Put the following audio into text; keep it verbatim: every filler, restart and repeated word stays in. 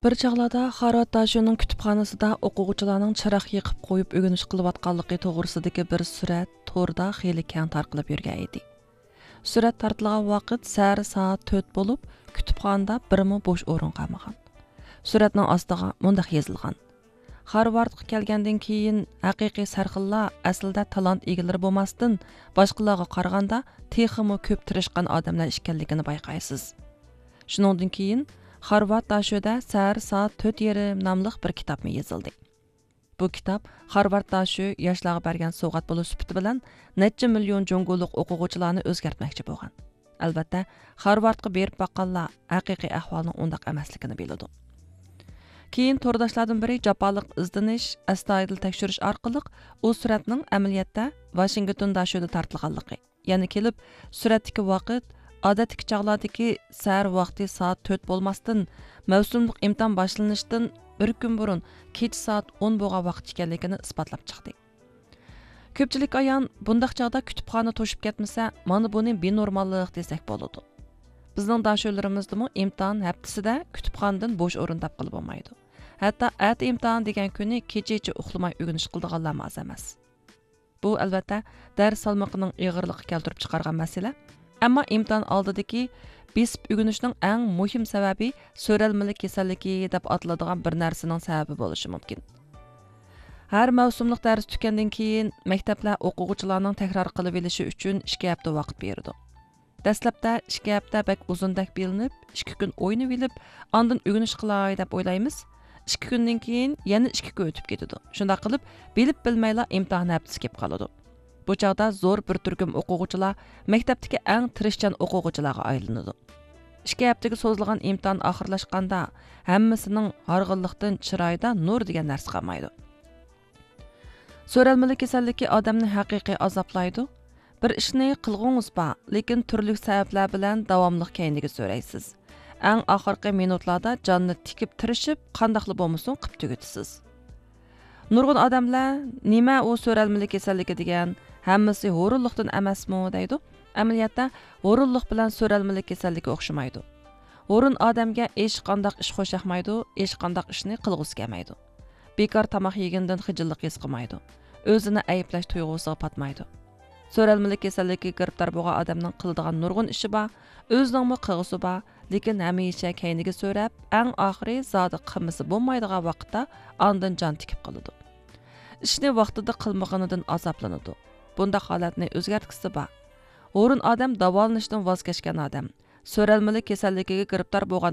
بىر چاغلاردا خارۋارد داشۆنىڭ كۇتۇپخانىسىدا ئوقۇغۇچىلارنىڭ چىراغ يېقىپ قويۇپ ئۆگىنىش قىلىۋاتقانلىقى توغرىسىدىكى بىر سۈرەت توردا خېلى كەڭ تارقىلىپ يۈرگەن ئىدى. سۈرەت تارتىلغان ۋاقىت سەھەر سائەت تۆت بولۇپ، كۇتۇپخانىدا بىرمۇ بوش ئورۇن قالمىغان. سۈرەتنىڭ ئاستىغا مۇنداق يېزىلغان: خارۋاردقا كەلگەندىن كېيىن، ھەقىقىي سەرخىللار ئەسلىدە تالانت ئىگىلىرى بولماستىن، باشقىلارغا قارىغاندا تېخىمۇ كۆپ تىرىشقان ئادەملەر ئىكەنلىكىنى بايقايسىز. شۇنىڭدىن كېيىن، خارۋارد داشۆدە سەھەر سائەت تۆت يېرىم ناملىق بىر كىتابمۇ يېزىلدى. بۇ كىتاب خارۋارد داشۆ ياشلارغا بەرگەن سوۋغات بولۇش سۈپىتى بىلەن نەچچە مىليون جۇڭگولۇق ئوقۇغۇچىلارنى ئۆزگەرتمەكچى بولغان. ئەلۋەتتە، خارۋاردقا بېرىپ باققانلار ھەقىقىي ئەھۋالنىڭ ئۇنداق ئەمەسلىكىنى بىلىدۇ. كېيىن تورداشلاردىن بىرى جاپالىق ئىزدىنىش، ئەستايىدىل تەكشۈرۈش ئارقىلىق ئۇ سۈرەتنىڭ ئەمەلىيەتتە ۋاشىنگتون داشۆدە تارتىلغانلىقى، يەنە كېلىپ سۈرەتتىكى ۋاقىت ئادەتتىكى چاغلاردىكى سەھەر ۋاقتى سائەت تۆت بولماستىن، مەۋسۇملۇق ئىمتىھان باشلىنىشتىن بىر كۈن بۇرۇن كېچە سائەت ئون بولغان ۋاقىت ئىكەنلىكىنى ئىسپاتلاپ چىقتى. كۆپچىلىك ئايان، بۇنداق چاغدا كۇتۇپخانا توشۇپ كەتمىسە، مانا بۇنى بىنورماللىق دېسەك بولىدۇ. بىزنىڭ داشۆلىرىمىزدىمۇ ئىمتىھان ھەپتىسىدە كۇتۇپخانىدىن بوش ئورۇن تاپقىلى بولمايدۇ. ھەتتا ئەتە ئىمتىھان دېگەن كۈنى كېچىچە ئۇخلىماي ئۆگىنىش قىلىدىغانلارمۇ ئاز ئەمەس. بۇ، ئەلۋەتتە، دەرس سالمىقىنىڭ ئېغىرلىقى كەلتۈرۈپ چىقارغان مەسىلە. ئەمما ئىمتىھان ئالدىدىكى بېسىپ ئۆگىنىشنىڭ ئەڭ مۇھىم سەۋەبى سۆرەلمىلىك كېسەللىكى دەپ ئاتىلىدىغان بىر نەرسىنىڭ سەۋەبى بولۇشى مۇمكىن. ھەر مەۋسۇملۇق دەرس تۈگەندىن كېيىن، مەكتەپلەر ئوقۇغۇچىلارنىڭ تەكرار قىلىۋېلىشى ئۈچۈن ئىككى ھەپتە ۋاقىت بېرىدۇ. دەسلەپتە ئىككى ھەپتە بەك ئۇزۇندەك بىلىنىپ، ئىككى كۈن ئوينىۋېلىپ، ئاندىن ئۆگىنىش قىلاي دەپ ئويلايمىز. ئىككى كۈندىن كېيىن يەنە ئىككى كۈن ئۆتۈپ كېتىدۇ. شۇنداق قىلىپ، بىلىپ بىلمەيلا ئىمتىھان ھەپتىسى كېلىپ قالىدۇ. بۇ چاغدا زور بىر تۈركۈم ئوقۇغۇچىلار مەكتەپتىكى ئەڭ تىرىشچان ئوقۇغۇچىلارغا ئايلىنىدۇ. ئىككى ھەپتىگە سوزۇلغان ئىمتىھان ئاخىرلاشقاندا، ھەممىسىنىڭ ھارغىنلىقتىن چىرايىدا نۇر دېگەن نەرسە قالمايدۇ. سۆرەلمىلىك كېسەللىكى ئادەمنى ھەقىقىي ئازابلايدۇ. بىر ئىشنى قىلغۇڭىز بار، لېكىن تۈرلۈك سەۋەبلەر بىلەن داۋاملىق كەينىگە سۆرەيسىز. ئەڭ ئاخىرقى مىنۇتلاردا جاننى تىكىپ تىرىشىپ، قانداقلا بولمىسۇن قىپ تۈگىتىسىز. نۇرغۇن ئادەملەر، نېمە ئۇ سۆرەلمىلىك كېسەللىكى دېگەن، ھەممىسى ھۇرۇنلۇقتىن ئەمەسمۇ دەيدۇ. ئەمەلىيەتتە، ھۇرۇنلۇق بىلەن سۆرەلمىلىك كېسەللىكى ئوخشىمايدۇ. ھۇرۇن ئادەمگە ھېچقانداق ئىش خوش ياقمايدۇ، ھېچقانداق ئىشنى قىلغۇسى كەلمەيدۇ. بىكار تاماق يېگىنىدىن خىجىللىق ھېس قىلمايدۇ. ئۆزىنى ئەيىبلەش تۇيغۇسىغا پاتمايدۇ. سۆرەلمىلىك كېسەللىكىگە گىرىپتار بولغان ئادەمنىڭ قىلىدىغان نۇرغۇن ئىشى بار، ئۆزىنىڭمۇ قىلغۇسى بار، لېكىن ھەمىشە كەينىگە سۆرەپ، ئەڭ ئاخىرى زادى قىلمىسا بولمايدىغان ۋاقىتتا ئاندىن جان تىكىپ قالىدۇ. ئىشنى ۋاقتىدا قىلمىغىنىدىن ئازابلىنىدۇ. بۇنداق ھالەتنى ئۆزگەرتكۈسى بار. ھۇرۇن ئادەم داۋالىنىشتىن ۋاز كەچكەن ئادەم. سۆرەلمىلىك كېسەللىكىگە گىرىپتار بولغان